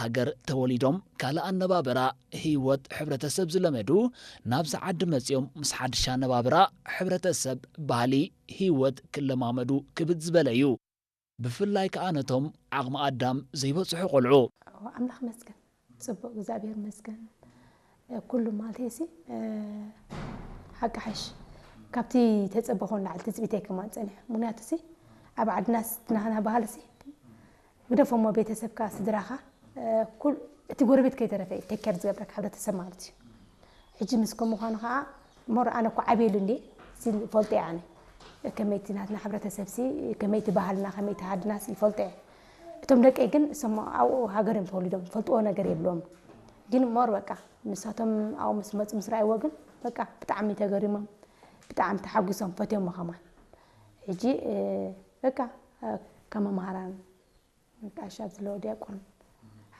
ሃገር ተወሊዶም ካልእ ኣነባብራ፣ ህይወት፣ ሕብረተሰብ ዝለመዱ፣ ናብዚ ዓዲ መጺኦም ምስ ሓድሽ ኣነባብራ፣ ሕብረተሰብ፣ ባህሊ፣ ህይወት ክለማመዱ ክብድ ዝበለ እዩ። ብፍላይ ከኣ ነቶም ዓቕሚ ኣዳም ዘይበጽሑ ቆልዑ። ኣምላኽ መስገን፣ ጽቡቕ እግዚኣብሔር መስገን። ኩሉ ማለት ሲ ሓቂ ሓሽ ካብቲ ተጸበኾ ንላዕሊ ትጽቢተይ ከማን ጸኒሑ። ምክንያቱ ሲ ኣብ ዓድናስ ናህና ባህልሲ ግደፎሞ ቤተሰብካ፣ ስድራኻ፣ እ፣ ኩል-፣ እቲ ጎረቤት ከይተረፈ እዩ ቴክ ኬር ዝገብረካ ሕብረተሰብ ማለት እዩ። ሕጂ ምስ ከምኡ ምዃኑ ኸዓ ሞር ኣነ እኮ ዓብየሉ እንድየ፣ ሲ ይፈልጦ እየ ኣነ። ከመይቲ ናትና ሕብረተሰብ ሲ፣ ከመይቲ ባህልና፣ ከመይቲ ዓድና ሲ ይፈልጦ እየ። እቶም ደቀይ ግን እሶም ኣብኡ ሃገር እዮም ተወሊዶም፣ ዝፈልጥዎ ነገር የብሎም። ግን ሞር በቃ ንሳቶም ኣብኡ ምስ መጹ ምስ ረኣይዎ ግን በቃ ብጣዕሚ ተገሪሞም፣ ብጣዕሚ ተሓጒሶም፣ ፈትዮሞ ከማን። ሕጂ፣ እ፣ በቃ፣ እ፣ ከም መምሃራን፣ ጋሽ ኣብዚ ዘሎ ዲያቆን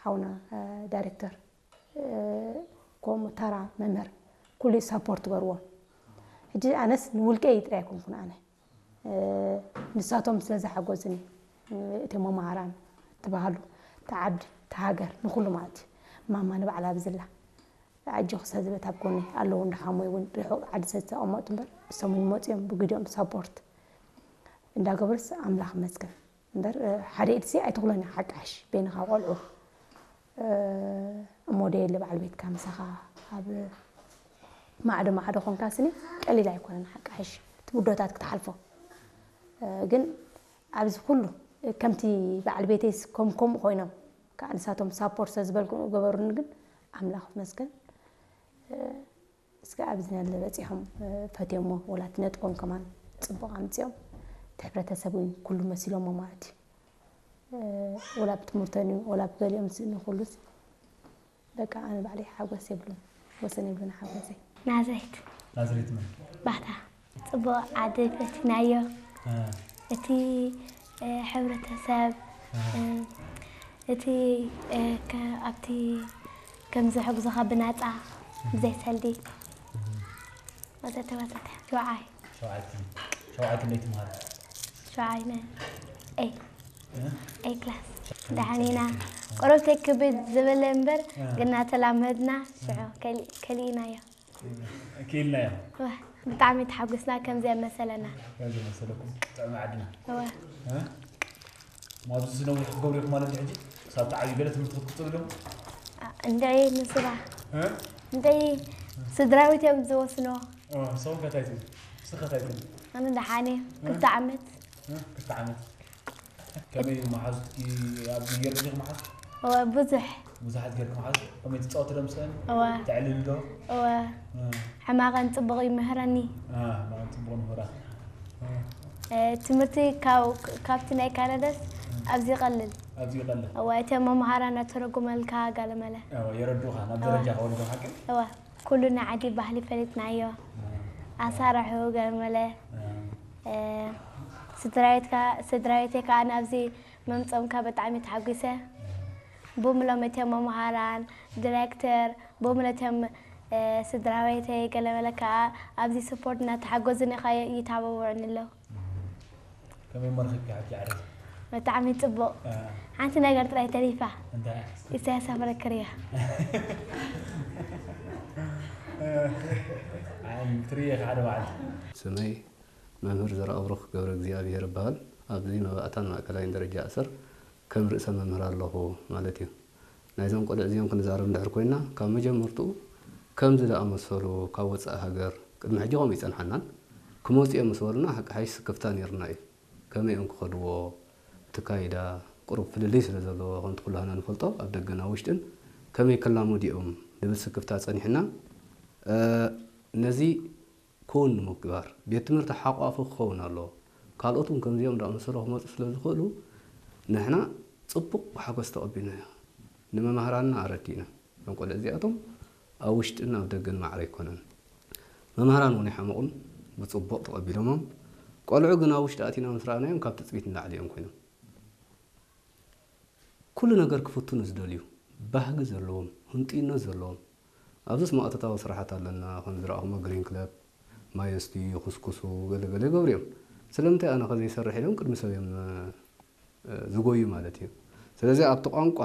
ሓውና፣ እ፣ ዳይሬክተር፣ እ፣ ከምኡ ተራ መምህር ኩሉ ሳፖርት ገርዎ። ሕጂ ኣነስ ንውልቀይ ጥራይ ኣይኮንኩን ኣነ፣ እ፣ ንሳቶም ስለ ዝሓገዙኒ፣ እ፣ እቶም መምሃራን፣ እቲ ባህሉ፣ እቲ ዓዲ፣ እቲ ሃገር፣ ንኹሉ ማለት እዩ። ማማ ንባዕላ ብዝላ ኣጆኺ ሰዝበት ኣብ ጎኒ ኣለዉ፣ እንዳሓሙ እውን ርሑቕ ዓዲ ስለ ዝተቐመጡ እምበር፣ እሶም እውን መፂኦም ብግዲኦም ሳፖርት እንዳገበሩስ ኣምላኽ ይመስገን። እምበር፣ እ፣ ሓደ ኢድሲ ኣይትኹሎን እያ ሓቃሽ በይንኻ ቆልዑ። እ፣ እሞ ደየለ በዓል ቤትካ ምሳኻ ኣብ ማዕዶ ማዕዶ ኾንካ ስኒ ቀሊል ኣይኮነን ሓቃሽ እቲ ውዶታት ክትሓልፎ። እ፣ ግን ኣብዚ ኩሉ ከምቲ በዓል ቤተይስ ከም ከምኡ ኮይኖም፣ ከዓ ንሳቶም ሳፖርት ስለ ዝበልኩ ገበሩኒ። ግን ኣምላኽ ይመስገን፣ እ፣ እስከ ኣብዚ ናለ በጺሖም፣ እ፣ ፈትዮሞ፣ ወላ እቲ ነጥቦም ከማን ጽቡቕ ኣምጺኦም፣ እቲ ሕብረተሰብ እውን ኩሉ መሲሎሞ ማለት እዩ። እ፣ ወላ ብትምህርተን እዩ፣ ወላ ብገሊኦም ስእኒ ኩሉስ፣ በቃ ኣነ ባዕለይ ሓጎስ የብሉን፣ ወሰን የብሉን ሓጎሰይ። ናዝሬት። ናዝሬት መን? ባታ። ጽቡቕ ዓዲ ፈቲናዮ። እ። እቲ፣ እ፣ ሕብረተሰብ፣ እ። እ፣ እቲ፣ እ፣ ከ-፣ ኣብቲ ከም ዝሕግዙኻ ብናጻ፣ ብዘይ ሰልዲ። እ። ወዘተ ወዘተ። ሸውዓይ። ሸውዓይ ክፍሊ። ሸውዓይ ክንደይ ትምሃር? ሸውዓይ መን? ኤይ። እ? ኤይ ክላስ። ደሓን ኢና። ቁሩብተይ ክብድ ዝበለ እምበር፣ እ። ግን እናተላመድና፣ ሽዑ ከሊ-፣ ከሊእናዮ። ክኢልናዮ። ወ-፣ ብጣዕሚ ተሓጒስና፣ ከምዚ መሰለና። ከምዚ መሰለኩም፣ ጥዕሚ ዓድና። እወ። እ? እሞ ኣብዚ ዝነውሕ ክትገብሩ ኢኹም ማለት እዩ ሕጂ? ክሳብ ትዓብዩ ገለ ትምህርቲ ክትቅጽሉ ዲኹም? አ፣ እንድዒ ንስኻ። እ? እንድዒ ስድራቤት እዮም ዝወስንዎ። እ፣ ንስኹም ከ እንታይ ትብሉ? ንስኺ ከ እንታይ ትብሉ? ኣነ ደሓን እየ። እ? ክልተ ዓመት። እ? ክልተ ዓመት። ከመይ መሓዙትኪ ኣብዚ ገርኪ ዲኺ መሓዙት? እወ፣ ብዙሕ። ብዙሓት ገርኪ መሓዙት? ከመይ ትጻወቲ ዶ ምስለን? እወ። ተዕልሊ ዶ? እወ። እ። ሕማቐን ጽቡቕ ይምህረኒ። እ፣ ሕማቐን ጽቡቕ ይምህራ። እ። እ፣ ትምህርቲ ካብ-፣ ካብቲ ናይ ካናዳስ እ። ኣብዚ ይቐልል። ኣብዚ ይቐልል? እወ፣ እተን መምሃራን ኣተረጉመልካ ጋለመለ። እወ፣ የረድኡኻ፣ ናብ እወ። ደረጃ ከወርዱ ሓቂ? እወ። ኩሉ ናይ ዓዲ ባህሊ ፈሊጥናዮ። ኣሳርሑ ገርመለ። እ፣ ስድራቤትካ፣ ስድራቤተይ ከኣ ናብዚ ምምጾምካ ብጣዕሚ ተሓጒሰ። ብምሎም እቶም መምሃራን፣ ዲሬክተር፣ ብምሎም እቶም፣ እ፣ ስድራቤተይ ገለመለ ከኣ ኣብዚ ስፖርት እናተሓገዙኒ ከኣ ይተባብዑኒ ኣለዉ። ከመይ እሞ ረኺብኪ ሕጂ ዓረስ? ብጣዕሚ ጽቡቕ። እ። ሓንቲ ነገር ጥራይ ተሪፋ። እንታይ? ኢሳያስ ኣፈወርቂ ክርእያ። ኣይ፣ ክትርእየ ኢኻ ሓደ መዓልቲ። ስመይ መምህር ዘርኣብሩኽ ገብረ እግዚኣብሄር እበሃል። ኣብዚ መባእታን ማእከላይን ደረጃ ኣሰር ከም ርእሰ መምህር ኣለኹ ማለት እዩ። ናይዞም ቆልዑ እዚኦም ክንዛረብ እንድሕር ኮይንና፣ ካብ መጀመርትኡ ከምዚ ዝኣመሰሉ ካብ ወጻኢ ሃገር፣ ቅድሚ ሕጂ ከምኡ ይጸንሓናን፣ ክመጹ እዮም ምስ በሉና፣ ሓቂ ሓይሽ ስክፍታ ነይሩና እዩ። ከመይ እዮም ክኸድዎ? እቲ ካይዳ ቁሩብ ፍልልይ ስለ ዘለዎ፣ ከምቲ ኩላህና ንፈልጦ፣ ኣብ ደገን ኣብ ውሽጥን ከመይ ክላመዱ እዮም ዝብል ስክፍታ ጸኒሕና። እ፣ ነዚ ክውን ንምግባር፣ ቤት ትምህርቲ ሓቋፊ ክኸውን ኣለዎ። ካልኦት እውን ከምዚኦም ዝኣመሰሉ ክመጹ ስለ ዝኽእሉ፣ ንሕና ጽቡቕ ብሓጎስ ተቐቢልናዮ። ንመማህራንና ኣረዲእና። እዞም ቆልዑ እዚኣቶም ኣብ ውሽጥን ኣብ ደገን ማዕረ ኣይኮነን። መማህራን እውን ኣይሓመቑን፣ ብጽቡቕ ተቐቢሎሞም። ቆልዑ ግን ኣብ ውሽጢ ኣቲና ምስ ረኣናዮም፣ ካብ ትጽቢት ንላዕሊ እዮም ኮይኖም። ኩሉ ነገር ክፍትኑ ዝደልዩ፣ ባህጊ ዘለዎም፣ ህንጡይነት ዘለዎም። ኣብዚስ መኣቶታዊ ስራሓት ኣለና፣ ከም ዝረኣኹሞ ግሪን ክለብ፣ ማይ የስትዩ፣ ይኹስኩሱ፣ ገለ ገለ ይገብሩ እዮም። ስለምንታይ ኣነ ከ ዘይሰርሕ ኢሎም ቅድሚ ሰብ እዮም፣ እ፣ ዝጎዩ ማለት እዩ። ስለዚ ኣብቲ ቋንቋ